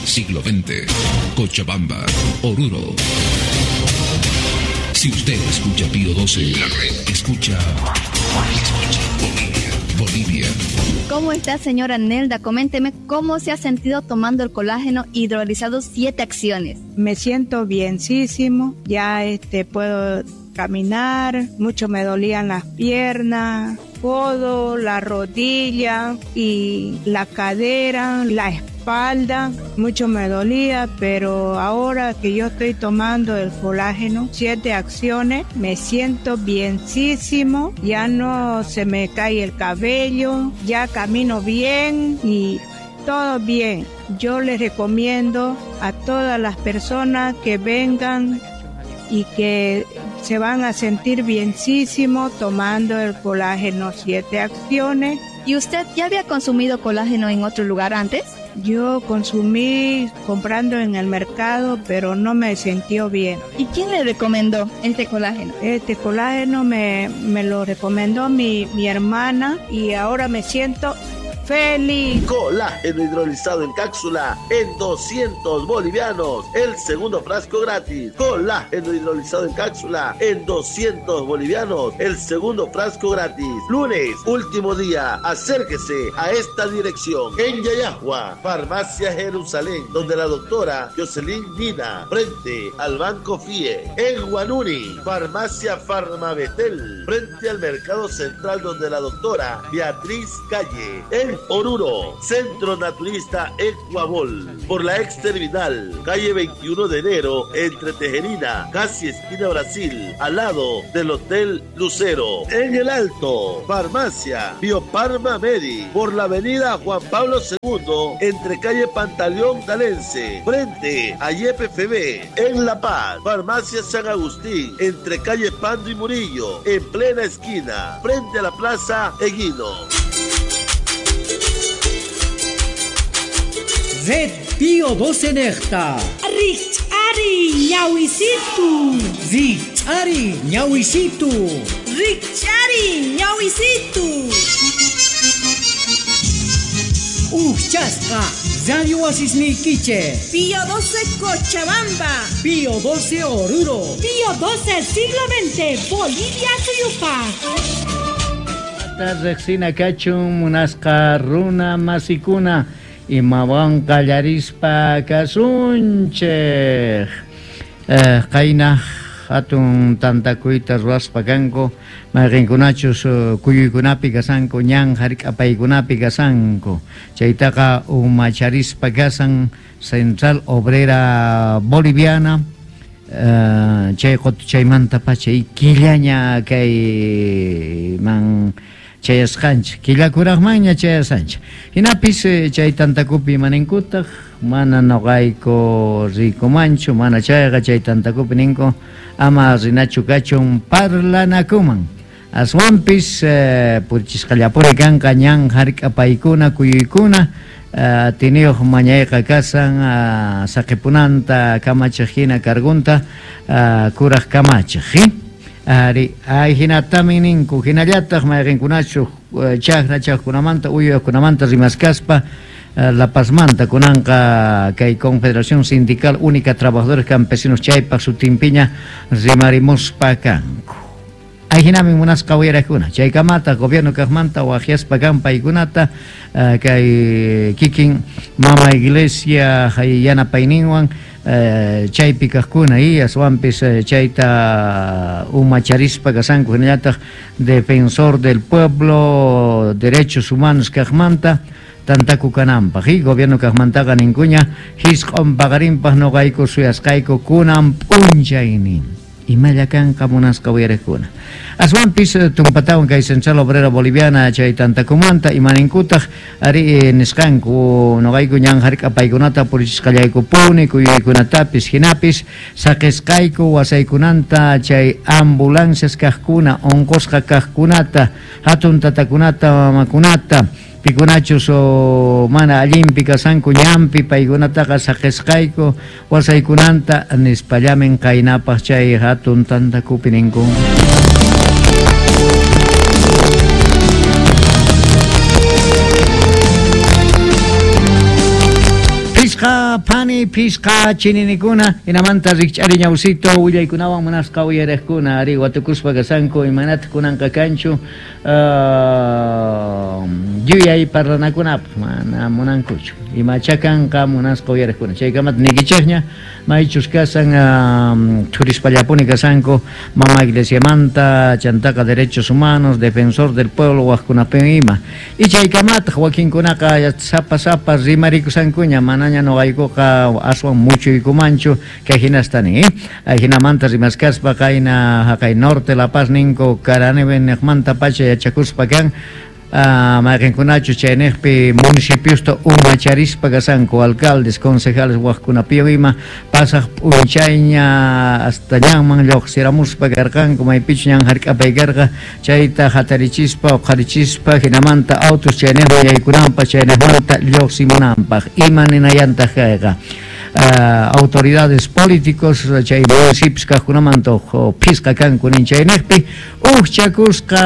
Siglo XX, Cochabamba, Oruro. Si usted escucha Pío 12, la red escucha. Escucha Bolivia, Bolivia. ¿Cómo está, señora Nelda? Coménteme cómo se ha sentido tomando el colágeno hidrolizado 7 acciones. Me siento bienísimo, ya puedo caminar, mucho me dolían las piernas, codo, la rodilla y la cadera, la espalda, mucho me dolía, pero ahora que yo estoy tomando el colágeno, 7 acciones, me siento bienísimo, ya no se me cae el cabello, ya camino bien y todo bien. Yo les recomiendo a todas las personas que vengan y que se van a sentir bienísimo tomando el colágeno 7 acciones. ¿Y usted ya había consumido colágeno en otro lugar antes? Yo consumí comprando en el mercado, pero no me sintió bien. ¿Y quién le recomendó este colágeno? Este colágeno me lo recomendó mi hermana y ahora me siento feliz. Colágeno hidrolizado en cápsula en 200 bolivianos. El segundo frasco gratis. Colágeno hidrolizado en cápsula en 200 bolivianos. El segundo frasco gratis. Lunes, último día. Acérquese a esta dirección. En Yayagua, Farmacia Jerusalén, donde la doctora Jocelyn Nina, frente al Banco FIE. En Huanuni, Farmacia Farmabetel, frente al Mercado Central, donde la doctora Beatriz Calle. En Oruro, Centro Naturista Ecuabol, por la ex terminal, calle 21 de enero, entre Tejerina, casi esquina Brasil, al lado del Hotel Lucero. En El Alto, Farmacia Bioparma Medi, por la avenida Juan Pablo II, entre calle Pantaleón Talense, frente a YPFB. En La Paz, Farmacia San Agustín, entre calle Pando y Murillo, en plena esquina, frente a la Plaza Eguino. Red Pío 12 Necta. Richari ñawisitu. Richari ñawisitu. Richari ñawisitu. Uchasqa Radio Asisniquiche. Pío 12 Cochabamba. Pío 12 Oruro. Pío 12 Siglo XX Bolivia Suyupa. Rexina kachun munasqa runa masikuna. Imawan qallarispa kasunchej. Qayna hatun tantakuyta ruwaspa kanku, mayqinkunachus kuyuykunapi kasanku, ñan hark'apaykunapi kasanku. Chaytaqa umacharispa kasan Central Obrera Boliviana. Chay chaymanta pacha killaña kay man chayasqanchik, killakuraqmanña chayasqanchik. Hinapis chay tantakupi maninkutaq, mana noqayku rikumanchu, mana chayqa chay tantakupi ninku ama rinachu kachun parlanakuman. Aswanpis purichisqallapuri kanqa ñan hark'apaykuna kuyuykuna, tiniyuq mañayqa kasan saqipunanta kamachiq hina kargunta kuraq kamachiq. Ari, ay hinatami ninku, hinallataq mayqinkunachu chaqra chaqkunamanta uyuyaqkunamanta rimaskaspa La Pazmanta kunanqa kay Confederación Sindical Única Trabajadores Campesinos chaypaq sutinpiña rimarimuspa kanku. Ay hinami munasqa uyarakuna, chaykamata gobierno kaqmanta waqyaspa kan paykunata kay kikin mama iglesia yanapayninwan chaypi kaqkuna y aswanpis chayta umacharispa kasanku hinallataq defensor del pueblo derechos humanos kaqmanta tantaku kananpaq y gobierno kaqmantaqa ninkuña hisq'un paqarinpaq noqayku suyasqayku kunan p'unchaynin. Imalla kanqa munasqa uyariqkuna. Aswanpis tumpatawan kay Central Obrera Boliviana chay tantakumanta imaninkutaq ari nisqanku noqayku ñan hark'apaykunata purichisqallaykupuni kuyuykunatapis hinapis saqisqayku wasaykunanta chay ambulancias kaqkuna unqusqa kaqkunata hatun tatakunata mamakunata pikunachus mana allinpi kasanku ñanpi paykunataqa saqisqayku wasaykunanta nispallamin qaynapaq chay hatun tantakupi ninku. Munasqa phani phisqa chininikuna hinamanta rikch'ari ñawsito willaykunawan munasqa uyariqkuna ari watukuspa kasanku imanataq kunanqa kanchu yuyay parlanakunapaq mana munankuchu imacha kanqa munasqa uyariqkuna chaykamata niykichikña maychus kasan thurispallapuni kasanku mama iglesiamanta chantaqa derechos humanos defensor del pueblo wajkunapin ima y chaykamataq wakinkunaqa sapa sapa rimarikusankuña manaña noqaykuqa aswan muchuykumanchu kay hinasta nin jinamanta rimaskaspa qayna haqay norte La Paz ninku Karaneve niqmanta pacha yachakuspa kan mayqinkunachu chayniqpi municipiosta umacharispa kasanku alcaldes concejales wajkunapiwan ima pasaq p'unchayña hasta ñanman lluqsiramuspa karqanku maypichu ñan hark'apay karqa chayta hatarichispa uqharichispa hinamanta autos chayniqman yaykunanpaq chayniqmanta lluqsimunanpaq ima ninayantaq kayqa autoridades políticos chay municipios kaqkunamanta phisqa kanku nin chayniqpi ujchakusqa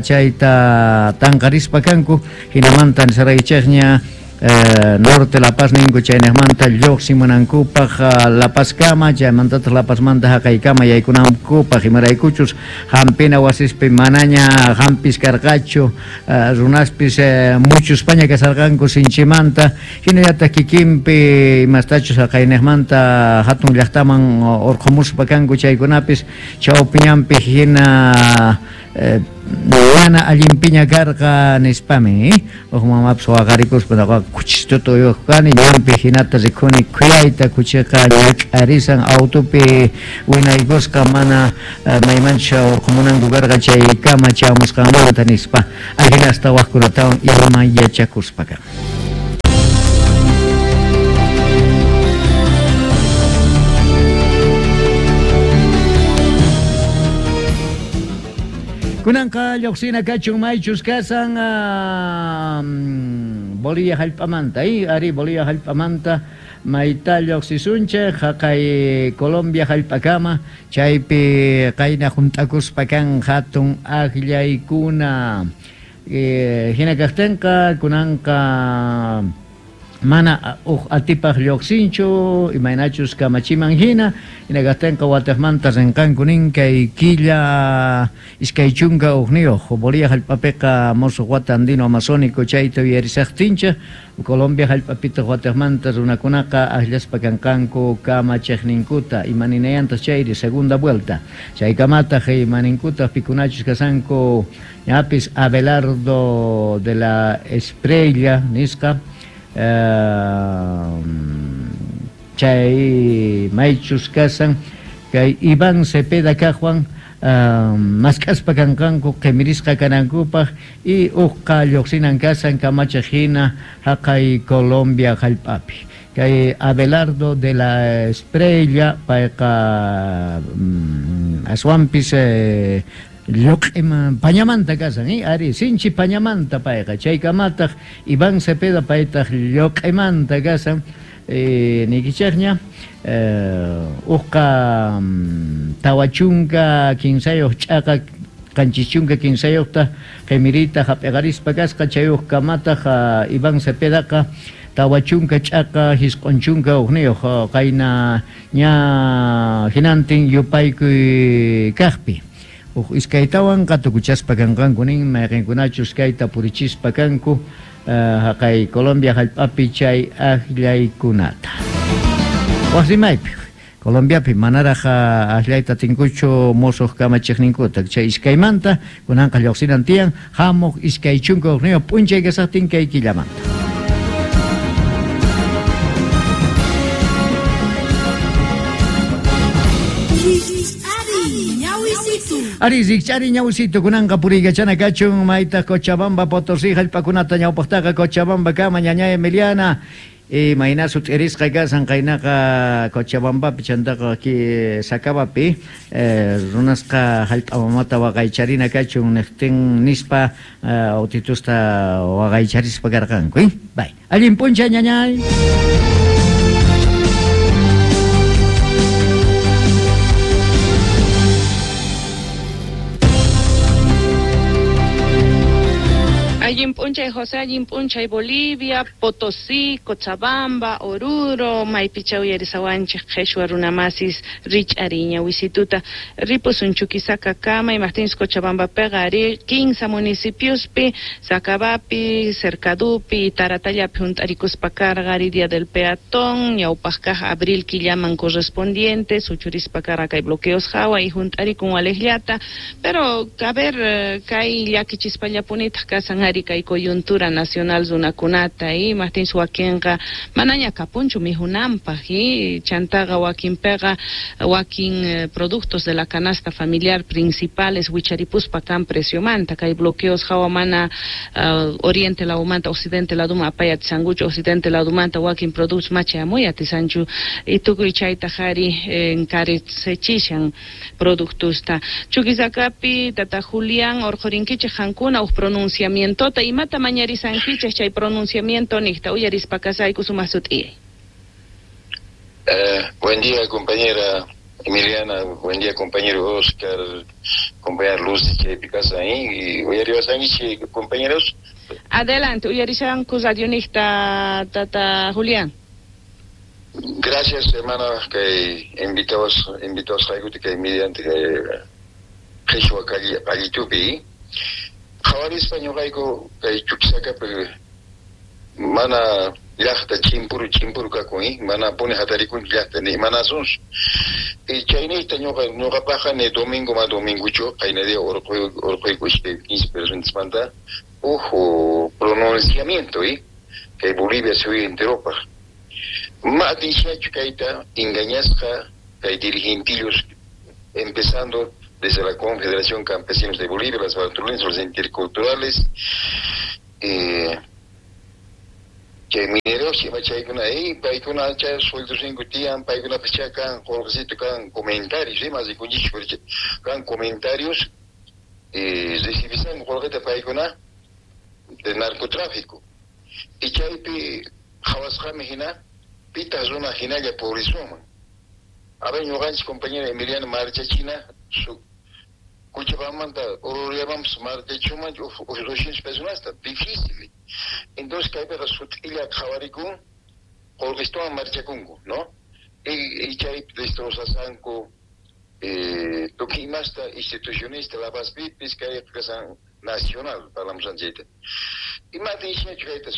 chayta tanqarispa kanku hinamanta nisaraychikña norte La Paz ninku chayniqmanta lluqsimunankupaq La Pazkama chaymantataq La Pazmanta haqaykama yaykunankupaq imaraykuchus hampina wasispi manaña hampis karqachu runaspis muchuspaña kasarqanku sinchimanta hinallataq kikinpi imastachus haqayniqmanta hatun llaqtaman urqumuspa kanku chaykunapis chawpiñanpi hina mana allinpiña karqa nispami uj mamapis waqarikuspa noqaqa kuchistuta uywaq kani ñanpi hinata rikuni khuyayta kuchiqa ñak'arisan autopi winaykusqa mana maymanchus urqumunanku karqa chaykama chamusqanmanta nispa ajinasta wajkunatawan ima yachakuspa kan. Kunanqa lluqsina kachun maychus kasan Bolivia hallp'amanta ari Bolivia hallp'amanta mayta lluqsisunchik haqay Colombia hallp'akama chaypi qayna hunt'akuspa kan hatun akllaykuna hina kaqtinqa kunanqa mana uj atipaq lluqsinchu imaynachus kamachiman hina hina kaqtinqa wataqmanta rinqanku nin kay killa 21 Bolivia hallp'apiqa musuq wata andino amazónico chayta uyarisaqtinchik Colombia hallp'apitaq wataqmanta runakunaqa akllaspa kanqanku kamachiqninkuta imaninayantaq chayri segunda vuelta chaykamataq imaninkutaq pikunachus kasanku ñapis Abelardo de la Espriella nisqa chay maychus kasan kay Iván Cepeda kaqwan mask'aspa kanqanku qimirisqa kanankupaq y uqqa lluqsinan kasan kamachiq hina haqay Colombia hallp'api kay Abelardo de la Espriella payqa aswanpis lluq'ima pañamanta kasan ari sinchi pañamanta payqa chaykamataq Iván Cepeda paytaq lluq'imanta kasan niykichikña uqqa 43 ch'aqa 73 qimirita hap'iqarispa kasqa chay uqkamataq Iván Cepedaqa 40 ch'aqa 91 qayna ña hinantin yupaykuy kaqpi uj iskaytawan qatukuchaspa kanqanku nin mayqinkunachus kayta purichispa kanku haqay Colombia hallp'api chay akllaykunata waq rimaypi Colombiapi manaraq akllayta atinkuchu musuq kamachiqninkuta chay iskaymanta kunanqa lluqsinan tiyan hamuq 21 p'unchay kasaqtin kay killamanta. Ari rikch'ari ñawsito kunanqa puriykachana kachun maytaq Cochabamba Potosí hallp'akunata ñawpaqtaqa Cochabamba kama ñaña Emiliana mayna sut'irisqa kasan qaynaqa Cochabambapi chantaqa Sacabapi runasqa hallp'a mamata waqaycharina kachun niqtin nispa autitusta waqaycharispa karqanku bay allin p'unchay ñañay. Allin p'unchay José, allin p'unchay Bolivia, Potosí, Cochabamba, Oruro, maypicha uyarisawanchej qheshwa runamasis rich'ariña wisituta ripusun Chuquisaca kama imajtinchus Cochabambapiqa ari 15 municipiospi, Sacabapi, Cercadupi, Taratallapi junt'arikuspa karqa ari Día del Peatón, ñawpaj kaj abril killaman correspondiente, suchurispa karqa kay bloqueos hawa y junt'arikun walejllata, pero a ver kay llakichispallapunitaj kasan ari kay coyuntura nacional runakunata y imajtinchus wakinqa manaña kapunchu mijunanpaj y chantaqa wakinpiqa wakin productos de la canasta familiar principales wicharipuspa kan preciomanta kay bloqueos hawa mana oriente ladumanta occidente laduma apay atisankuchu occidente ladumanta wakin productos machayamuy atisanchu y tukuy chaytaj ari encarecechishan productosta. Chuquisacapi tata Julián orqhurinkichej qankuna uj pronunciamientota imata mañarisankichej chay pronunciamiento niqta uyarispa kasayku sumaq sut'iyay. Buen día, compañera Emiliana, buen día, compañero Oscar, compañera Luz chaypi kasan y uyariwasankichik compañeros. Adelante, uyarishanku radionijta tata Julián. Gracias, hermana, que invitados kay mediante qhishwa qallitupi. Qhawarispa ñuqayku kay Chuquisacapi mana llaqta chimpuru chimpuru kakun, mana puni hatarikun llaqta ni mana asunsu. Y chayniyta ñuqapaqqa ni domingo ma dominguchu qayna día urquyku iskay 15 personasmanta uj pronunciamiento kay Bolivia suyu enteropaq. Ma atinchachu kayta engañasqa kay dirigentillos empezando desde la Confederación Campesinos de Bolivia, las Bartolinas, los interculturales, chay mineros ima chaykuna paykuna chay sueldosninku tiyan paykunapas chay kan qolqecito kan comentarios ima rikunchikchu kan comentarios recibisanku qolqeta paykuna de narcotráfico y chaypi qhawasqami hina pitaq runa hinalla purisunman. A ver, ñuqanchik compañera Emiliana marchachina su Cochabambamanta Oruriamanpas marchachuman uj 200 personasta difícil. Entonces kaypiqa sut'illa qhawarikun qolqestuwan marchakunku, ¿no? Y chaypi destrozasanku tukuy imasta institucionista La Pazpipis kayqa kasan nacional parlamusan chayta. Ima atinchikñachu kayta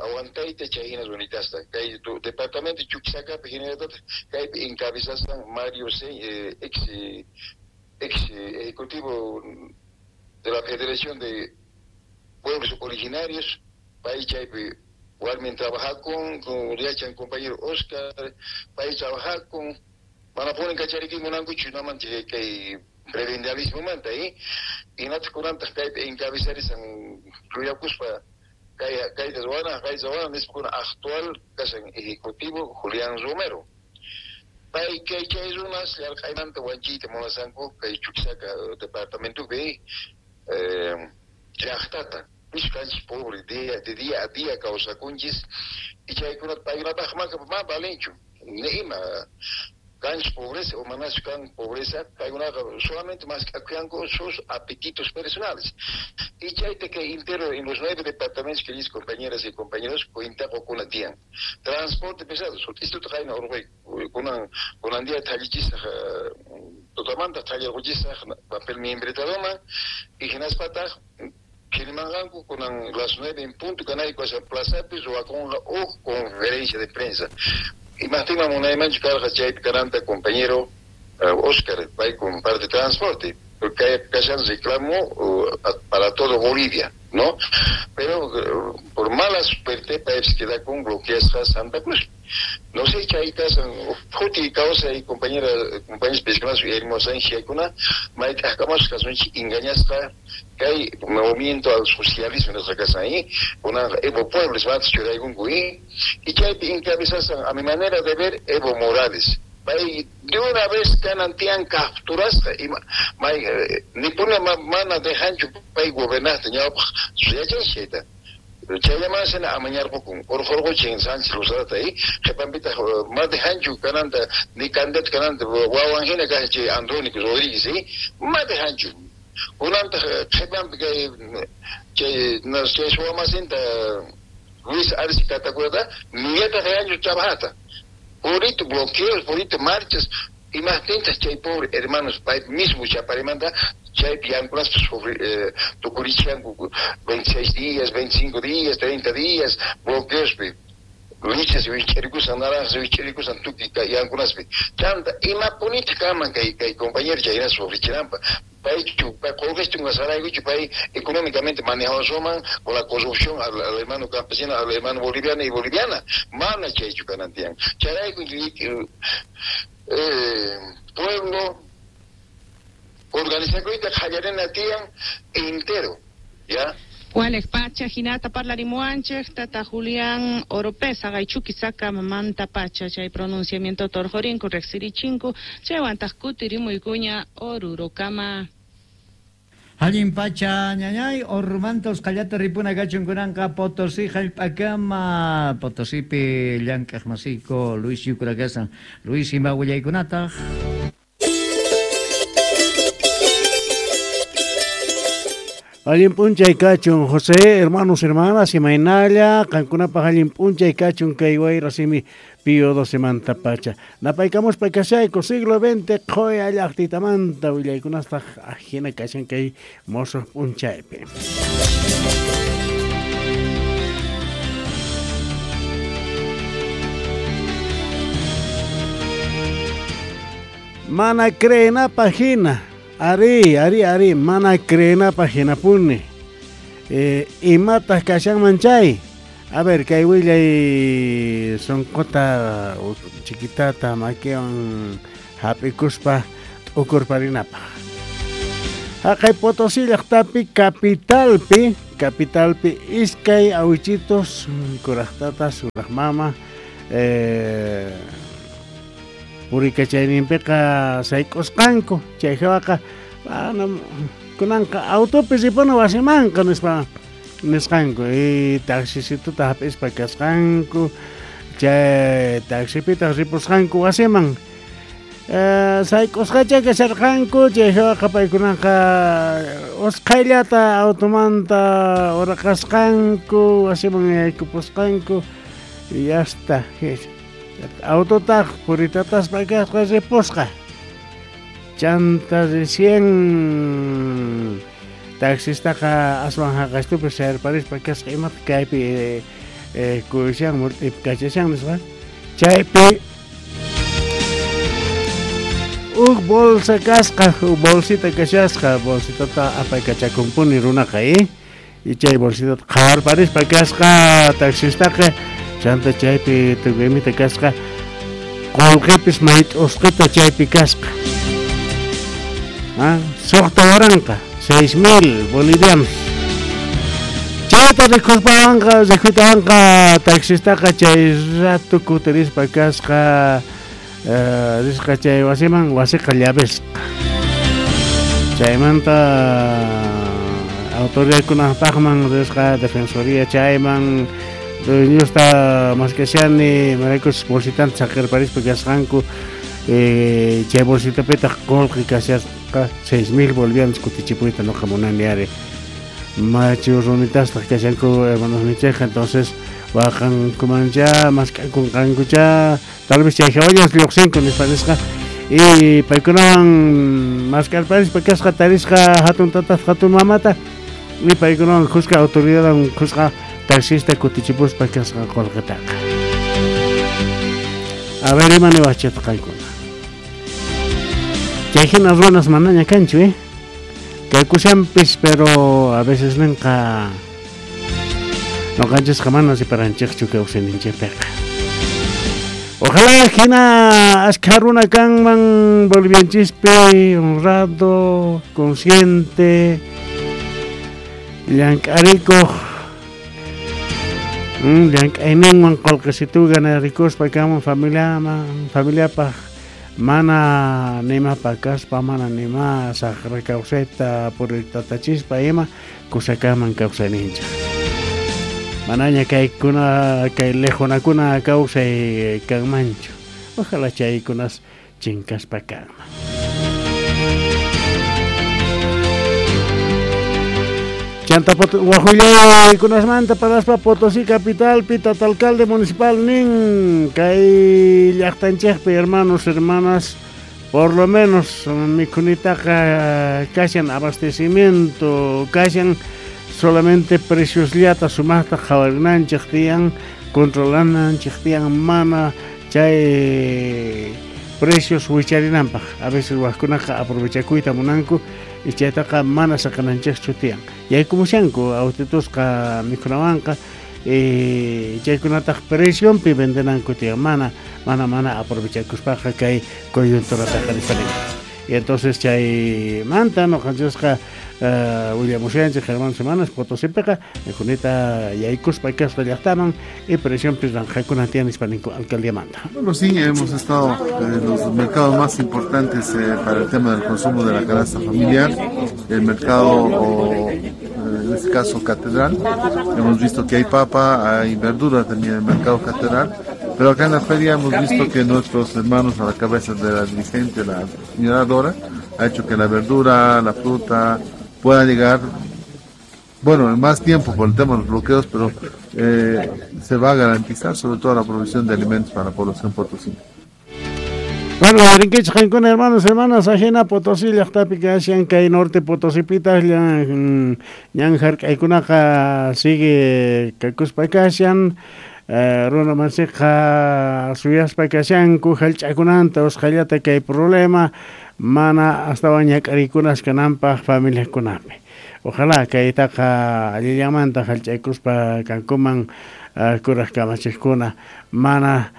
aguantayta chay hina runitasta kay departamento Chuquisacapi hinallataq kaypi encabezasan Mario ex ejecutivo de la Federación de Pueblos Originarios, pay chaypi warmin trabajakun con yachan compañero Oscar, pay trabajakun mana punin kacharikuy munankuchu namanchik kay prebendalismomanta hinataq kunantaq kaypi encabezarisan ruyakuspa kayta ruwana kayta ruwana nispa kuna actual kasan ejecutivo Julián Romero. Pay kay chay runas llarq'aymanta wanchiyta munasanku kay Chuquisaca departamentopi llaqtata nisqanchik pobre de día a día kawsakunchis y chaykunata paykunapaq ma valenchu ni ima kanchik pobreza o manachu kan pobreza paykunaqa solamente mask'akuyanku sus apetitos personales y chayta kay entero en los 9 departamentos que compañeras y compañeros cuenta qukuna tiyan transporte pesado sut'istuta qayna urquyku kunan día thallichisaq tutamanta thallarquchisaq papel miembretadoman y hinaspataq qhilimanqanku kunan las 9 en punto kanayku asa plazapi ruwakunqa uj conferencia de prensa. Imajtinman munaymanchu karqa chaypi kananta compañero Oscar pay comparte transporte porque kashan reclamo para todo Bolivia, ¿no? Pero por mala suerte paypis quedakun bloqueasqa Santa Cruz. No sé chay kasan juti kawsay compañera compañeros pescanas hermosanchiakuna mayt'aqkamasqa kasunchik engañasqa kay movimiento al socialismo nisqa kasan kunanqa Evo Pueblos matas churaykunku y chaypi encabezasan a mi manera de ver Evo Morales. Pay de una vez kanan tiyan capturasqa may nipuna mana dejanchu pay gobernaqta ñawpaq yachanchik chayta. Chayllamanasina amañarqukun urqurquchin Sánchez Lozadata qhipanpitaq ma dejanchu kananta ni candidato kananta wawan hina kashan chay Andrónico Rodríguez ma dejanchu Kunantaq qhipanpi kay chay chay suwamasinta Luis Arce Catacurata nillataq yanchu trabajata. Purito bloqueos, purito marchas, imajtintaq chay pobre hermanos pay mismo chaparimanta chaypi yankunaspa tukurichanku 26 días, 25 días, 30 días bloqueospi. Lichas wich'arikusan, naranjas wich'arikusan tukuy yankunaspi. Chanta imapunitaq kanman kay kay compañero chayna sufrichinanpaq. Paychu qolqechun saraykuchu pay económicamente manejasuman con la corrupción al hermano campesino, al hermano boliviano y boliviana. Mana chaychu kanan tiyan. Chayrayku pueblo organizakuyta qallarina tiyan entero, ¿ya? Walej pacha, hinata parlarimuanchej, tata Julián Oropesa, gaychukisaka mamanta pacha, chay pronunciamiento torjorinku, rexirichinku, chaywantaj kutirimuykuña Orurokama. Allin pacha ñañay, ormantos qallata ripuna kachun kunanqa Potosí jallp'akama, Potosípi llank'aq masiyku Luis Yucura kasan. Luis, ima willaykunataq? Allin p'unchay kachun, José, hermanos, hermanas, imaynalla, qankunapaq allin p'unchay kachun kay wayra simi Pío XII manta pacha. Napaykamuspa kashayku siglo XX qhoya llaqtitamanta willaykunastaq ajina kashan kay mosoq p'unchaypi. Mana creenapaq hina. Ari, ari, ari, mana creenapaq hinapuni. Imataq kashanman chay. A ver, kay willay sonqota chiquitata makiwan hap'ikuspa t'ukurparinapaq. Haqay Potosí llaqtapi capitalpi, capitalpi iskay awichitos kuraqtata suraq mama purikachayninpiqa sayk'usqanku chay hawaqa kunanqa autopi ripuna wasimanqa nispa nisqanku y taxisituta hap'ispa kasqanku chay taxipitaq ripusqanku wasiman sayk'usqacha kasharqanku chay hawaqa paykunaqa usqhayllata automanta uraqasqanku wasiman yaykupusqanku y hasta autotaq puritataspa kasqa ripusqa. Chanta recién taxistaqa aswan haqastupi sayarparispa kasqa imata kaypi kuyushan murt'ipi kachashan nisqa. Chaypi huk bolsa kasqa, huk bolsita kashasqa, bolsitata apaykachakunpuni runaqa y chay bolsitata qhawarparispa kasqa taxistaqa. Chanta chaypi tukuymita kasqa qolqepis mayt'usqita chaypi kasqa. Suqta waranqa, 6,000 bolivianos. Chayta rikuspawanqa, rikuytawanqa taxistaqa chay rato kutirispa kasqa risqa chay wasiman, wasiqa llavesqa. Chaymanta autoridadkunapaqman risqa defensoría chayman dueñosta maskashani maraykus bolsitanta saqirparispa kasqanku chay bolsitapitaq qolqi kashasqa 6,000 bolivianos kutichipuyta noqa munani ari machu runitastaq kashanku hermanos nichejqa entonces waqankumancha mask'akunqankucha tal vez chay hawallas lluqsinku nispa nisqa y paykunawan mask'arparispa kasqa tarisqa hatun tatata hatun mamata y paykunawan kuska autoridadwan kuska taxista kutichipuspa kasqa qolqitaqa. A ver, ima niwachitaq qaykuna. Chay hina runas manaña kanchu, Kaykushanpis, pero a veces ninqa noqanchisqa mana siparanchikchu kawsayninchikpiqa. Ojalá hina ashkha runa kanman bolivianchispi honrado, consciente, llank'arikuq llank'ayninwan qolqisitu ganarikuspa kaman familiaman, familiapaq mana nima pakaspa, mana nima saqra kawsayta puritatachispa ima kusakaman kawsayninchik. Manaña kaykuna kay lejunakuna kawsay kanmanchu. Ojalá chaykunas chinkaspa kanman. Chanta wajullaykunasmanta paraspa Potosí capitalpi tata alcalde municipal nin kay llaqtanchikpi hermanos hermanas por lo menos mikhunitaqa kashan abastecimiento kashan solamente preciosllata sumaqta qhawarinanchik tiyan controlananchik tiyan mana chay precios wicharinanpaq a veces wajkunaqa aprovechakuyta munanku y chaytaqa mana saqananchikchu tiyan yaykumushanku autitusqa mikhunawanqa chaykunataq precionpi vendenanku tiyan mana aprovechakuspaqa kay coyunturataqa nispa. Y entonces chaymanta noqanchikqa willamushanchik hermanos hermanas Potosipiqa mikhunita yaykuspa kasqa llaqtaman y precionpi ranqakuna tiyan nispa ninku alcaldiamanta. Bueno, sí, hemos estado en los mercados más importantes para el tema del consumo de la canasta familiar, el mercado, en este caso Catedral. Hemos visto que hay papa, hay verdura también en el mercado Catedral, pero acá en la feria hemos visto que nuestros hermanos a la cabeza de la dirigente, la señora Dora, ha hecho que la verdura, la fruta pueda llegar, bueno, en más tiempo por el tema de los bloqueos, pero se va a garantizar sobre todo la provisión de alimentos para la población potosina. Bueno, rinkichik hermanos, hermanas, ajena Potosí llaqtapi kashan kay norte Potosipitaq ñan hark'aykunaqa sigue kakuspa kashan runa masiqa suyaspa kashanku hallch'akunanta usqhayllata kay problema mana astawan ñak'ariykunas kananpaq familiakunapi. Ojalá kaytaqa allillamanta hallch'aykuspa kankuman kuraq kamachiqkuna mana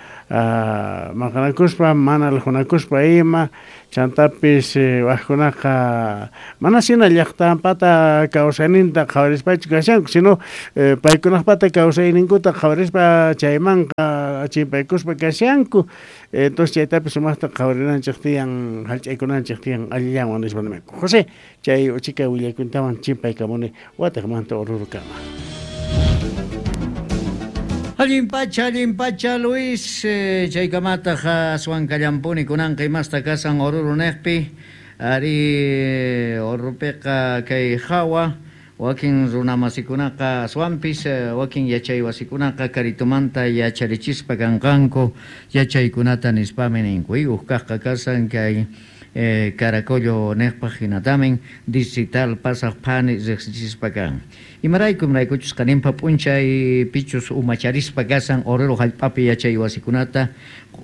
maqanakuspa mana aljunakuspa ima chantapis wajkunaqa mana shina llaqtanpata kawsayninta qhawarispachu kashanku sino paykunaqpata kawsayninkuta qhawarispa chaymanqa chimpaykuspa kashanku. Entonces chaytapis sumaqta qhawarinanchik tiyan hallch'aykunanchik tiyan allillanwan nispa nimanku. José chay uchika willaykuntawan chimpaykamuni wataqmanta Orurukama. Allin pacha Luis, chaykamataq aswan kallampuni kunanqa imasta kasan Oruro neqpi, ari Orurupiqa kay hawa, wakin runamasikunaqa aswanpis, wakin yachaywasikunaqa karitumanta yacharichispa kanqanku yachaykunata nispami ninku, uqkaqqa kasan kay Caracollo neqpaq hinatamin distrital pasaq phani riqsichispa kan. Imarayku imaraykuchus qaninpa p'unchay pichus umacharispa kasan Oruro hallp'api yachaywasikunata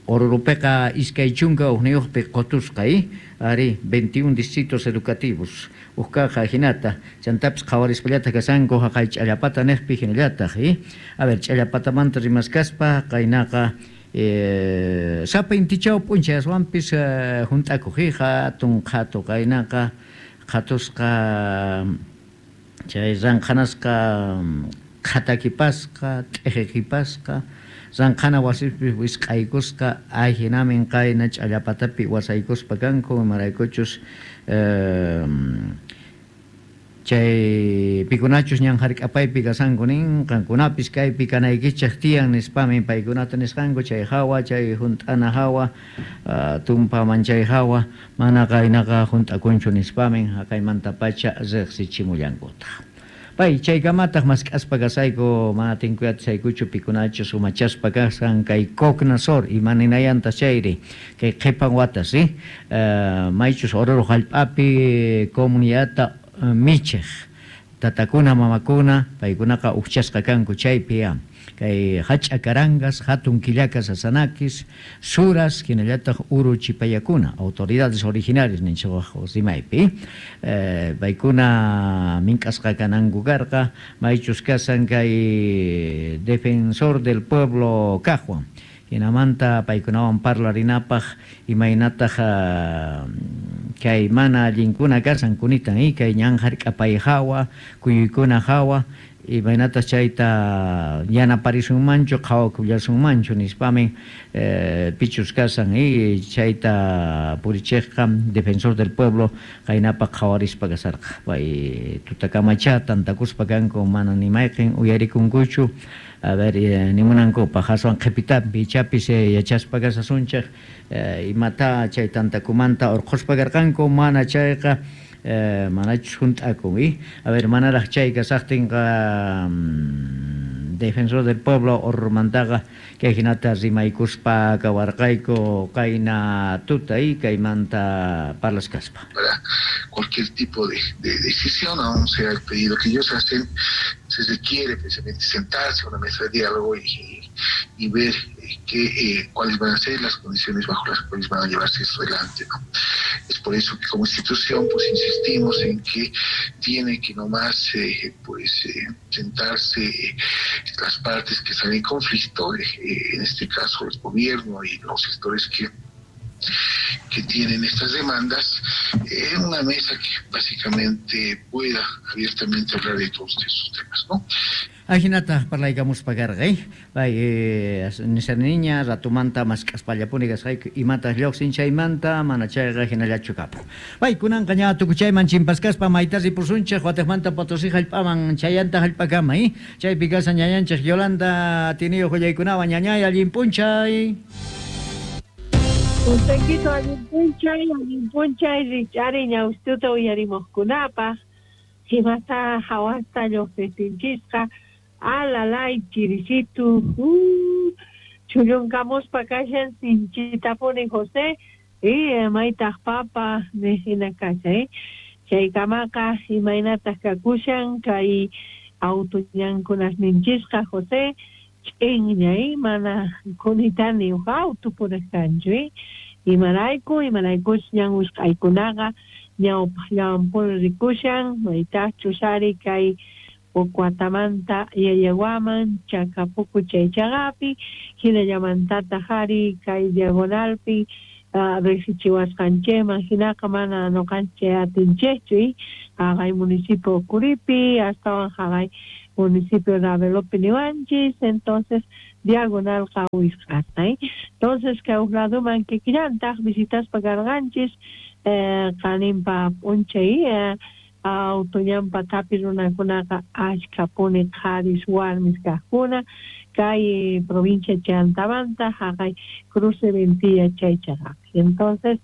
Orurupiqa 21 qotusqa ari 21 distritos educativos uqkaqa hinata chantapis qhawarispallataq kasanku haqay ch'allapata neqpi hinallataq a ver ch'allapatamanta rimaskaspa qaynaqa sapa intichaw p'unchay aswanpis hunt'akuq hatun qhatu qaynaqa qhatusqa chay ranqhanasqa qhatakipasqa t'iqikipasqa ranqhana wasipi wisq'aykusqa ahinamin qayna ch'allapatapi wasaykuspa kanku imaraykuchus chay pikunachus ñan hark'apaypi kasanku nin qankunapis kaypi kanaykichik tiyan nispami paykunata nisqanku chay hawa chay hunt'ana hawa tumpaman chay hawa mana qaynaqa hunt'akunchu nispamin haqaymantapacha riqsichimullankutaq. Pay chaykamataq mask'aspa kasayku mana tinkuyachaykuchu pikunachus umachaspa kasan kay Cocnasor imaninayanta chayri kay qhipan watas maychus Oruro hallp'api comunidadta michiq tatakuna mamakuna paykunaqa uqchasqa kanku chaypi kay hach'a karangas hatun killakas asanakis suras hinallataq uru chipayakuna autoridades originarias ninchik rimaypi paykuna mink'asqa kananku karqa maychus kasan kay defensor del pueblo kaqwan hinamanta paykunawan parlarinapaq imaynataq kay mana allinkuna kasan kunitan kay ñan hark'apay hawa kuyuykuna hawa imaynataq chayta yanaparisunmanchu qhawakullasunmanchu nispamin pichus kasan chayta purichiqqa defensor del pueblo qaynapaq qhawarispa kasarqa pay tutakamacha tantakuspa kanku mana nimayqin uyarikunkuchu. A ver, nimunankupaq aswan qhipitapi ichapis yachaspa kasasunchik imata chay tantakumanta urqhuspa karqanku mana chayqa Manachus junt'akun, a ver, manaraj chay kasaqtinqa Defensor del Pueblo Oruromantaqa kay hinata rimaykuspa kawarqayku qayna tuta kaymanta parlaskaspa. Para cualquier tipo de decisión, aún sea el pedido que ellos hacen, se requiere precisamente sentarse a una mesa de diálogo y ver cuáles van a ser las condiciones bajo las cuales van a llevarse esto adelante, ¿no? Es por eso que como institución pues insistimos en que tiene que nomás sentarse las partes que están en conflicto, en este caso el gobierno y los sectores que tienen estas demandas, en una mesa que básicamente pueda abiertamente hablar de todos esos temas, ¿no? Ajinata parlaykamuspa karqa, pay nisaniña ratumanta mask'aspallapuni kasqayku imataq lluqsin chaymanta mana chayqa hinallachu kapun. Pay kunanqa ña tukuchayman chimpaskaspa mayta ripusunchik wataqmanta Potosí hallp'aman chayanta hallp'akama, chaypi kashan ñañanchik Yolanda tiniyuq willaykunawan ñañay allin p'unchay. Puntaykito allin p'unchay rich'ari ñawstuta uyarimuqkunapaq himata hawasta lluqsistinchisqa alalay chirisitu chullunkamuspa kashan sinchitapuni José y maytaq papa nihina kashan chaykamaqa imaynataq kakushan kay auto ñankunasninchisqa José ch'inña mana kunitani uj auto puriq kanchu imarayku imaraykuch ñan wisq'aykunaqa ñawpaqllawanpuni rikushan maytaqchus ari kay Pocuatamanta Yayaguaman Chacapucu chaychaqapi hinallamantataq ari kay diagonalpi riqsichiwasqanchikman hinaqa mana ñuqanchik atinchikchu haqay municipio Curipi astawan haqay municipio Ravelopi niwanchis entonces diagonalqa wisq'asqa entonces kay uj laduman kikillantaq visitaspa karqanchis qaninpa p'unchay auto ñanpa tapi runakunaqa ashkhapuni qharis warmis kaqkuna kay provincia Chantamanta haqay cruce Ventilla chaychaqapi entonces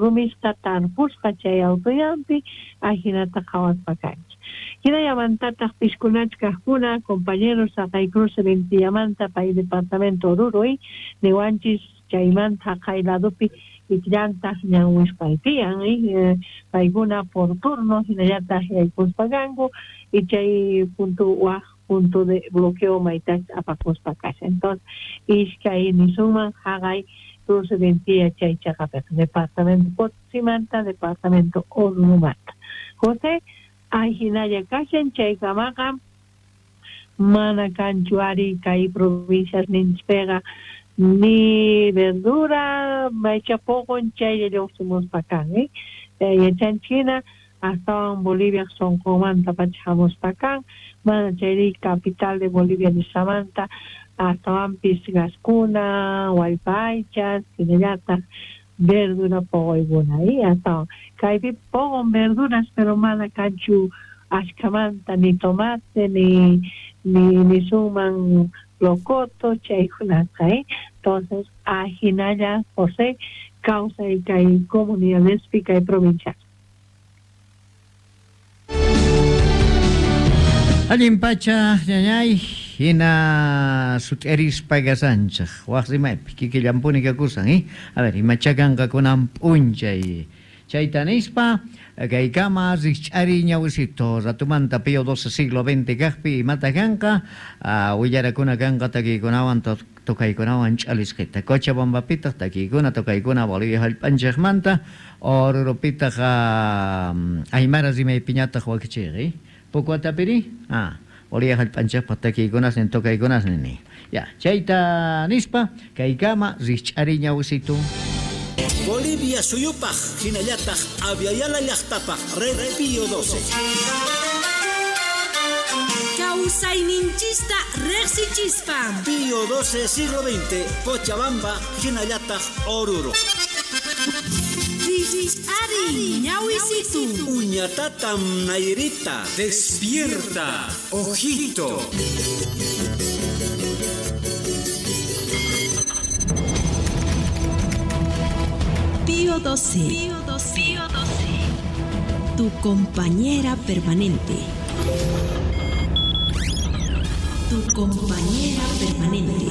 rumisqa tarpusqa chay autoñanpi ajinata qhawaspa kanchik hinallamantataq piskunach kaqkuna compañeros haqay cruce Ventillamanta pay departamento Oruro niwanchis chaymanta haqay ladupi ikllantaq ñan wisq'ay tiyan paykuna por turno hinallataq yaykuspa kanku y chay punto waj punto de bloqueo maytach apakuspa kashan entonces iskay nisunman haqay cruce Ventilla chay chaqapiqa departamento Potosimanta departamento Orurumanta José ahinalla kashan chaykamaqa mana kanchu ari kay provincias ninchpiqa ni verdura maycha poqon chaylla lluqsimuspa kan yachanchik hina astawan Bolivia sunqunmanta pacha hamuspa kan mana chayri capital de Bolivia nisqamanta astawanpis gaskuna wallpa aychas hinallataq verdura poqoykuna astawan kaypi poqon verduras pero mana kanchu ashkhamanta ni tomate ni nisunman locoto chaykunaqa entonces ajinalla José kawsay kay comunidadespi kay provincia. Allin pacha ñañay hina sut'erispa kasanchik waq rimaypi kikillampuni kakusan a ver imachakanqa kunan p'unchay chayta nispa kaykama rikch'ari ñawisito ratumanta Pío XII siglo XX kaqpi imata kanqa willarakuna kanqa takiykunawan tokaykunawan ch'alisqita Cochabambapitaq takiykuna tokaykuna Bolivia hallp'anchikmanta Oruropitaq Aymara rimaypiñataq wakichiyqa Pocuatapiri Bolivia hallp'anchikpaq takiykunas tokaykunas nini ya chayta nispa kaykama rikch'ari ñawisito. Bolivia suyupaq hinallataq Aviala llaqtapaq Red Pío XII. Kawsayninchista riqsichispa. Pío XII siglo XX, Cochabamba hinallataq Oruro. Ari ñawisitu. Uñatatam Nairita. Despierta, ojito. Pío XII. Pío XII. Tu compañera permanente. Tu compañera permanente.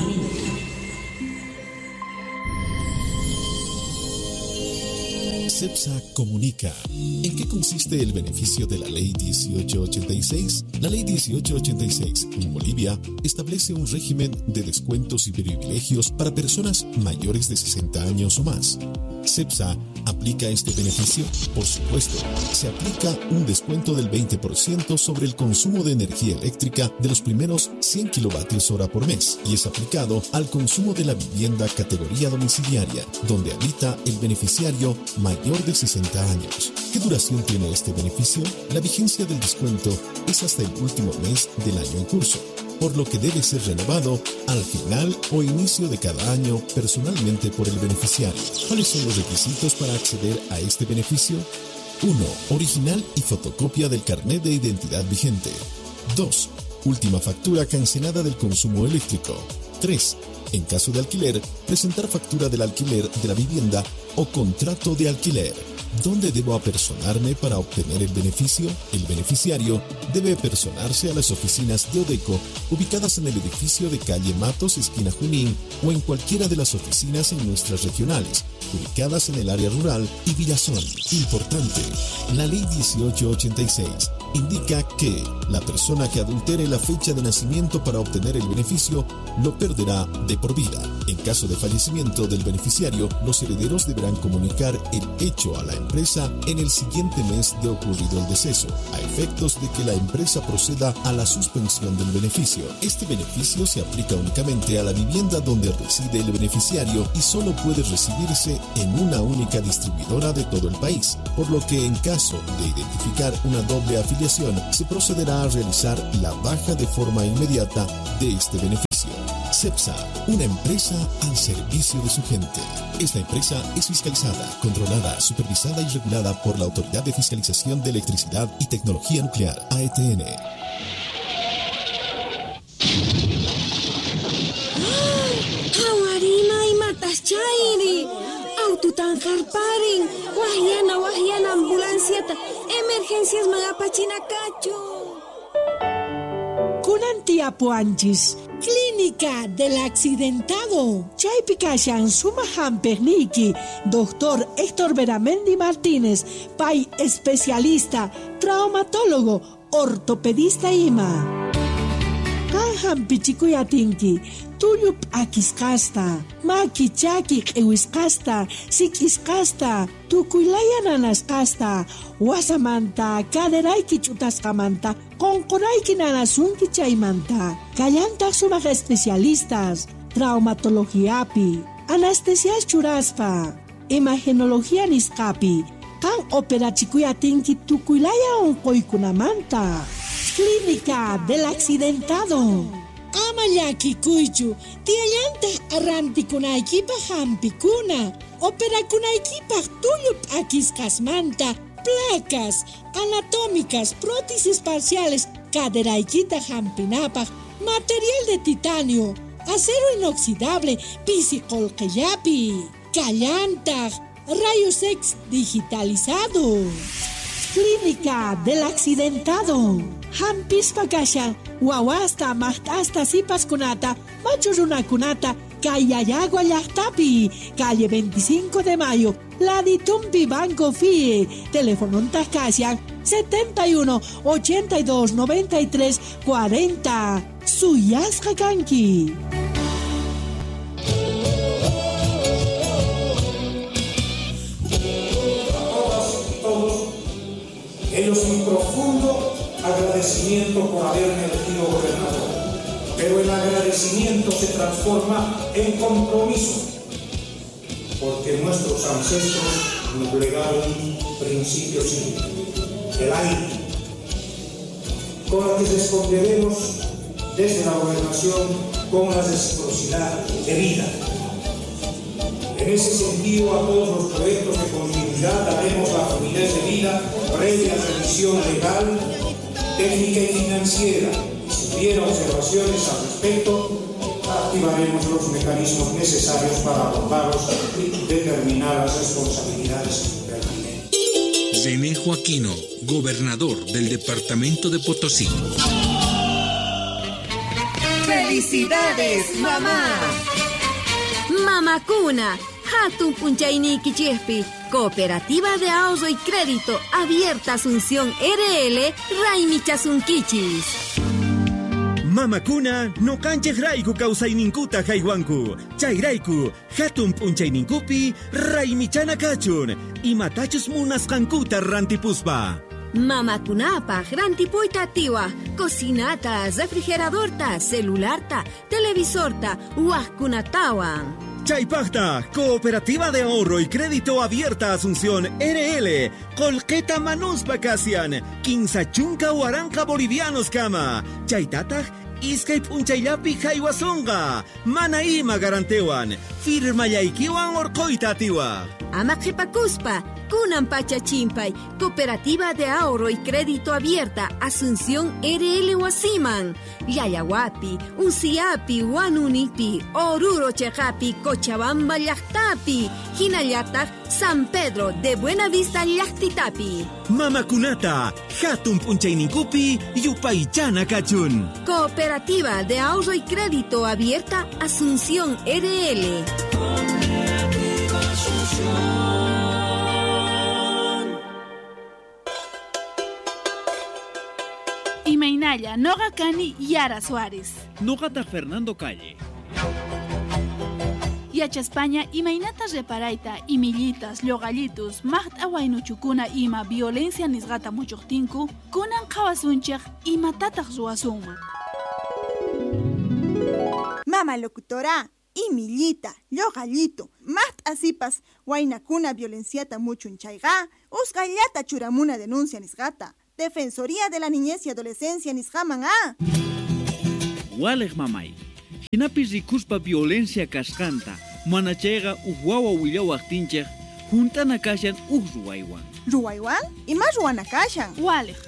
CEPSA comunica. ¿En qué consiste el beneficio de la Ley 1886? La Ley 1886 en Bolivia establece un régimen de descuentos y privilegios para personas mayores de 60 años o más. ¿CEPSA aplica este beneficio? Por supuesto, se aplica un descuento del 20% sobre el consumo de energía eléctrica de los primeros 100 kilovatios hora por mes y es aplicado al consumo de la vivienda categoría domiciliaria, donde habita el beneficiario mayor de 60 años. ¿Qué duración tiene este beneficio? La vigencia del descuento es hasta el último mes del año en curso, por lo que debe ser renovado al final o inicio de cada año personalmente por el beneficiario. ¿Cuáles son los requisitos para acceder a este beneficio? 1. Original y fotocopia del carnet de identidad vigente. 2. Última factura cancelada del consumo eléctrico. 3. En caso de alquiler, presentar factura del alquiler de la vivienda o contrato de alquiler. ¿Dónde debo apersonarme para obtener el beneficio? El beneficiario debe apersonarse a las oficinas de Odeco ubicadas en el edificio de calle Matos, esquina Junín, o en cualquiera de las oficinas en nuestras regionales, ubicadas en el área rural y Villazón. Importante, la Ley 1886 indica que la persona que adultere la fecha de nacimiento para obtener el beneficio lo perderá de por vida. En caso de fallecimiento del beneficiario, los herederos deberán comunicar el hecho a la empresa en el siguiente mes de ocurrido el deceso, a efectos de que la empresa proceda a la suspensión del beneficio. Este beneficio se aplica únicamente a la vivienda donde reside el beneficiario y solo puede recibirse en una única distribuidora de todo el país, por lo que en caso de identificar una doble afiliación, se procederá a realizar la baja de forma inmediata de este beneficio. CEPSA, una empresa al servicio de su gente. Esta empresa es fiscalizada, controlada, supervisada y regulada por la Autoridad de Fiscalización de Electricidad y Tecnología Nuclear, AETN. ¡Hawarina y mataschairi! ¡Aututanjarparin! ¡Wahyana, wahyana, ambulanciata! ¡Emergencias magapachinacacho! Kunan tiyapuwanchis, Clínica del Accidentado. Chaypi kashan sumaq hampiqniyki, Doctor Héctor Beramendi Martínez, pay especialista, traumatólogo, ortopedista ima. Qan hampichikuy atinki, tullu p'akisqasta, maki chaki q'iwisqasta, sik'isqasta, tukuylaya nanasqasta, wasamanta, caderayki ch'utasqamanta, qonqorayki nanasunki chaymanta. Kallantaq sumaq especialistas, traumatologiapi, anestesias churaspa, imagenología nisqapi, qan operachikuy atinki tukuylaya unquykunamanta. Clínica del Accidentado. Ama llakikuychu, tiyallantaq arrantikunaykipaq hampikuna, operakunaykipaq tullu p'akisqasmanta, placas anatómicas, prótesis parciales, caderaykita hampinapaq, material de titanio, acero inoxidable, pisi qullqillapi, kallantaq, rayos X digitalizado. Clínica del Accidentado. Hampispa kashan, wawasta, maqt'asta, sipaskunata, machu runakunata, Kayayagua llaqtapi, calle 25 de Mayo, Laditumpi Banco FIE, teléfono kashan 71 82 93 40. Suyasqa kanki. Ellos mi profundo agradecimiento por haberme elegido gobernador, pero el agradecimiento se transforma en compromiso, porque nuestros ancestros nos legaron un principio simple, el aire, con el que responderemos desde la gobernación con la reciprocidad debida. En ese sentido, a todos los proyectos de continuidad daremos la fluidez debida previa revisión legal, técnica y financiera. Si hubiera observaciones al respecto, activaremos los mecanismos necesarios para abordarlos y determinar las responsabilidades pertinentes. René Joaquino, gobernador del departamento de Potosí. ¡Felicidades, mamá! Mamakuna, hatun p'unchayniykichispi, Cooperativa de Ahorro y Crédito Abierta Asunción RL, Raymichasunkichis. Mamakuna noqanchej rayku kawsayninkuta haywanku. Chayrayku hatun p'unchayninkupi raymichana kachun. Imatachus munasqankuta rantipuspa. Mamakunapaj rantipuyta atiwaj, cocinata, refrigeradorta, celularta, televisorta, wajkunatawan. Chaypajta, Cooperativa de Ahorro y Crédito Abierta Asunción RL, Colqueta Manuspa Kasian, Quinza Chunka Huaranca Bolivianos Kama, Chaytataj, Iskay p'unchayllapi haywasonqa, mana ima garantewan, firmayaykiwan orqoyta atiwaj. Ama qhipakuspa, kunan pacha chimpay, Cooperativa de Ahorro y Crédito Abierta Asunción RL wasiman, Llallawapi, Usiapi, Huanunipi, Oruro cheqapi, Cochabamba llaqtapi, hinallataq San Pedro de Buenavista llaqtitapi. Mamakunata, hatun p'unchayninkupi, yupaychana kachun. Cooperativa de Ahorro y Crédito Abierta Asunción RL. Cooperativa Asunción. Imaynalla, noqa kani Yara Suárez. Noqata Fernando Calle. Yachaspaña imaynata reparayta imillitas, lluqallitus, maqt'a waynuchukuna ima violencia nisqata muchuqtinku, kunan qhawasunchik imatataq ruwasunman. Mama locutora, imillita, lluqallito, maqt'a sipas, waynakuna violenciata muchun chayqa, usqhayllata churamuna denuncia nisqata. Defensoría de la Niñez y Adolescencia nisqaman a. Waliq mamay, hinapis rikuspa violencia kasqanta, mana chayqa uj wawa willawaqtinchik, junt'ana kashan uj ruwaywan. Ruwaywan? Ima ruwana kashan? Waliq,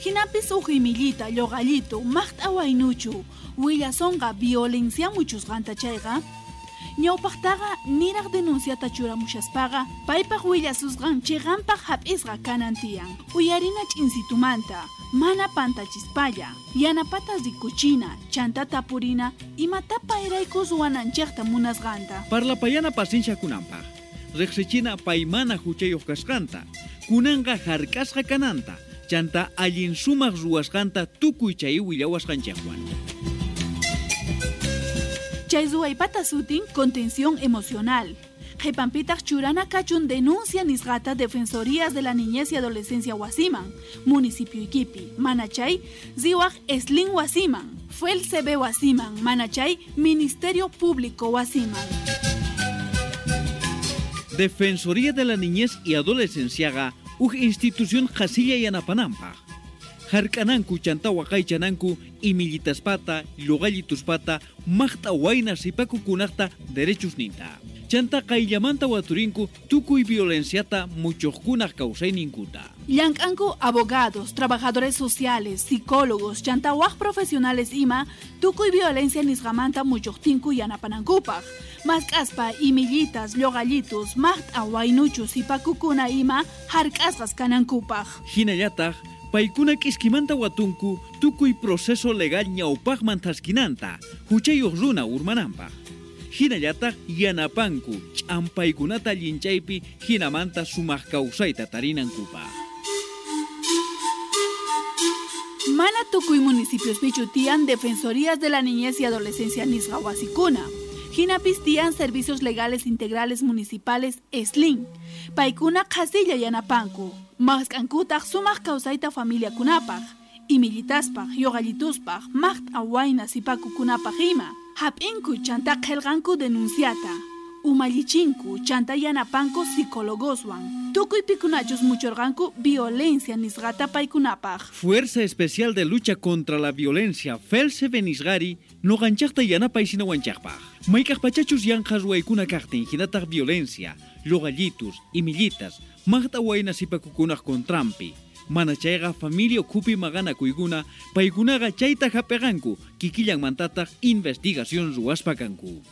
hinapis uj imillita, lluqallitu, maqt'a waynuchu, willasonqa violencia muchusqanta chayqa, ñawpaqtaqa niraq denunciata churamushaspaqa, paypaq willasusqan chiqanpaq hap'isqa kanan tiyan. Uyarina ch'insitumanta, mana pantachispalla, yanapata rikuchina, chanta tapurina, imatapa erayku ruwananchikta munasqanta. Parlapayana pacienciakunanpaq, riqsichina paymana huchayuq kasqanta, kunanqa hark'asqa kananta, chanta allin sumaq ruwasqanta tukuy chay willawasqanchikwan. Chay ruwaypata sutin contención emocional. Qhipanpitaq churana kachun denuncia nisqata Defensorías de la Niñez y Adolescencia wasiman, municipio Iquipi, manachay riwaq Eslin wasiman, FELCB wasiman, manachay Ministerio Público wasiman. Defensoría de la Niñez y Adolescenciaqa uj institución qhasilla yanapananpaq. Hark'ananku chanta waqaychananku imillitaspata, lluqallituspata, maqt'a wayna sipakukunaqta derechusninta. Chanta qayllamanta waturinku tukuy violenciata muchuqkunaq kawsayninkuta. Llank'anku abogados, trabajadores sociales, psicólogos, chanta waj profesionales ima, tukuy violencia nisqamanta muchuqtinku yanapanankupaq. Mask'aspa imillitas, lluqallitus, maqt'a waynuchu sipakukuna ima hark'asqas kanankupaq. Hinallataq paykuna k'iskimanta watunku tukuy proceso legal ñawpaqman thaskinanta, huchayuq runa urmananpaq. Hinallataq yanapanku ch'ampaykunata llinchaypi hinamanta sumaq kawsayta tarinankupaq. Mana tukuy municipiospichu tiyan Defensorías de la Niñez y Adolescencia nisqa wasikuna. Hinapis tiyan Servicios Legales Integrales Municipales SLIN. Paykuna qhasilla yanapanku. Mask'ankutaq sumaq kawsayta familiakunapaq, imillitaspaq, lluqallituspaq, maqt'a wayna sipakukunapaq ima. Hap'inku chanta qillqanku denunciata. Umallichinku chanta yanapanku psicólogoswan. Tukuy pikunachus muchurqanku violencia nisqata paykunapaq. Fuerza Especial de Lucha contra la Violencia, FELCB nisqari, noqanchaqta yanapaysinawachaqpaq. Mayk'aq pachachus yanqa ruwaykuna kaqtin hinataq violencia, lluqallitus, imillitas, maqt'a wayna sipakukunaq contranpi. Mana chayqa familia ukhupi maqanakuykuna, paykunaqa chayta hap'iqanku, kikillanmantataq investigación ruwaspa kanku.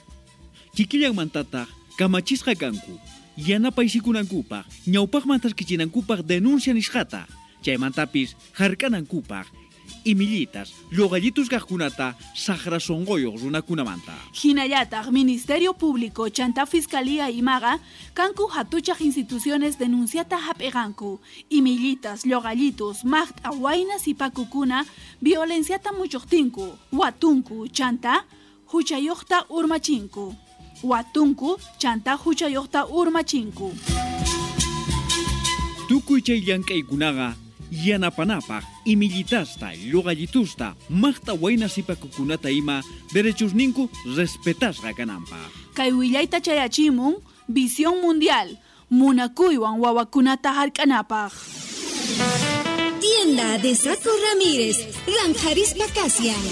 Kikillanmantataq kamachisqa kanku, Yanapaysikunankupaj, ñawpaqman taskichinankupaj denuncia nisqata, chaymantapis hark'anankupaj, imillitas, lluqallitus kaqkunata saqra sunquyuq runakunamanta. Hinallataq Ministerio Público chanta Fiscalía imaqa kanku hatuchaq instituciones denunciata hap'iqanku, imillitas, lluqallitus, maqt'a wayna sipakukuna violenciata muchuqtinku, watunku chanta huchayuqta urmachinku. Watunku chanta huchayuqta urmachinku. Tukuy chay llank'aykunaqa yanapanapaj imillitasta, lluqallitusta, maqt'a wayna sipakukunata ima derechosninku respetasqa kananpaj. Kay willayta chayachimun Visión Mundial, munakuywan wawakunata hark'anapaj. Tienda de Saco Ramírez, Ranjarispa Kasian.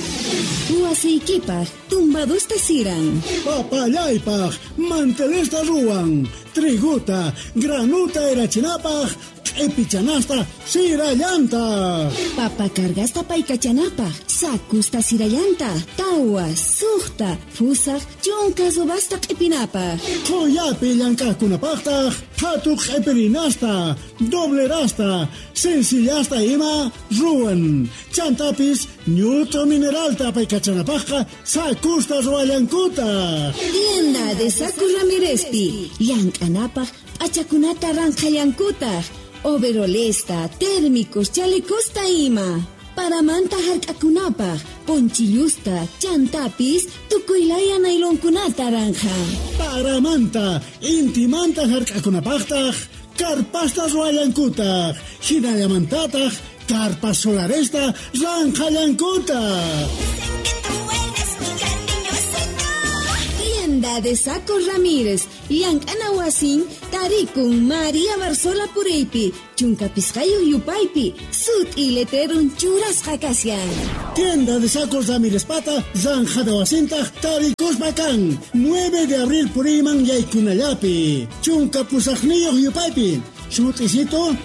Wasiykipaj, tumbadusta siran. Papallaypaj, mantelesta ruwan. Triguta, granuta erachinapaj, q'ipichanasta sirallanta. Papa cargasta paykachanapaj, sakusta sirallanta, tawa, suqta, fusaj, chunka subasta q'ipinapaj. Qhuyapi llank'aqkunapaqtaq, phatu q'ipirinasta, doblerasta, sencillasta ima ruwan. Chantapis ñut'u mineralta paykachanapajqa sakusta ruwallankuta. Tienda de Saco Ramírezpi, llank'anapaj p'achakunata ranqhallankutaq. Overolesta, térmicos, chalecosta ima. Paramanta hark'akunapaj, ponchillusta, chantapis, tukuylaya nailonkunata ranja. Paramanta, intimanta hark'akunapajtaj, karpasta ruwallankutaq, hinallamantataq, karpas solaresta ranqhallankutaq. Tienda de Saco Ramírez, llank'ana wasin, tarikun María Barzola Pureypi, chunka pisqayuq yupaypi, sut'i letrerun churasqa kashan. Tienda de Sacos Ramírez pata, zanjada wasintaq tarikuspa kan, 9 de abril puriyman yaykunallapi, chunka pusaqniyuq yupaypi, sut'isito,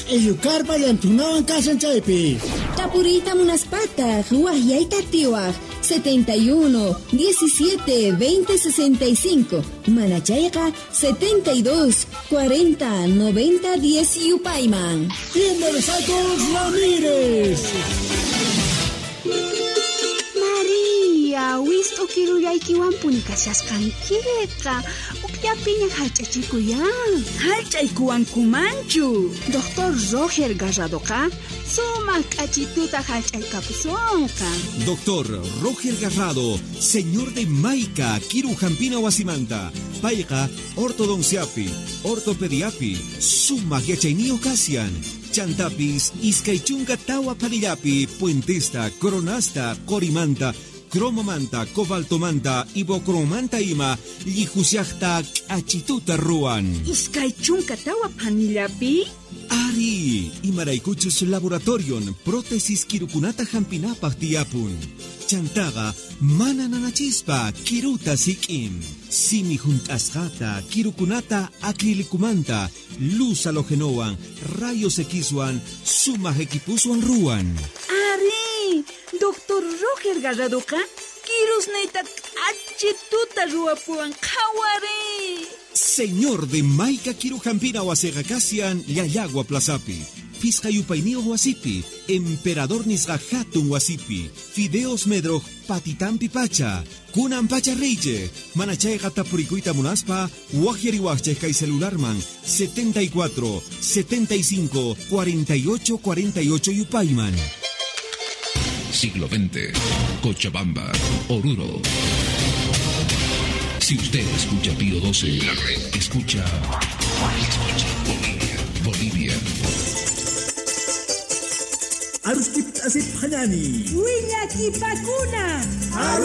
q'illukarpa llantunawan kashan chaypi. Tapuriyta munaspataq, waqyayta tiwaq, 71 17 20 65, manachayqa 72 40 90 10 yupayman. Tienda de Sacos Ramírez. María, wist'u kirullaykiwanpuni kashasqankiqa, ukllapiña hallch'achikuyan. Hallch'aykuwankumanchu. Doctor Roger Garradoqa sumaq k'achituta hallch'aykapusunqa. Doctor Roger Garrado, señor de Maica, Kiru Jampina Wasimanta, payqa ortodonciapi, ortopediapi, sumaq yachayniyuq kashan. Chantapis, iskay chunka tawa panillapi, puentesta, coronasta, qorimanta, cromomanta, cobaltomanta, ibocromanta ima, llijusiaqta k'achituta ruwan. Iskay chunka tawa panillapi? Ari, imaraykuchus laboratorion, prótesis kirukunata hampinapaj tiyapun. Chantaqa mana nanachispa kiruta sik'in. Simi junt'asqata, kirukunata acrilicumanta, luz halogenowan, rayos Xwan, sumaq equipuswan ruwan. Ari, Doctor Roger Garradoqa kirusniyta k'achituta ruwapuwan qhawari. Señor de Maica Kirujampina wasiqa kashan Llallagua Plazapi, Pisqa yupayniyuq wasipi, Emperador nisqa hatun wasipi, Fideos Medroj patitampi pacha, kunan pacha reyche, manachayqa tapurikuyta munaspa, waqyariwaqchej kay celularman 74 75 48 48 yupayman. Siglo XX, Cochabamba, Oruro. Si usted escucha Pío 12, la red escucha Bolivia, Bolivia. Aruskip asip hanani. Willakipakuna.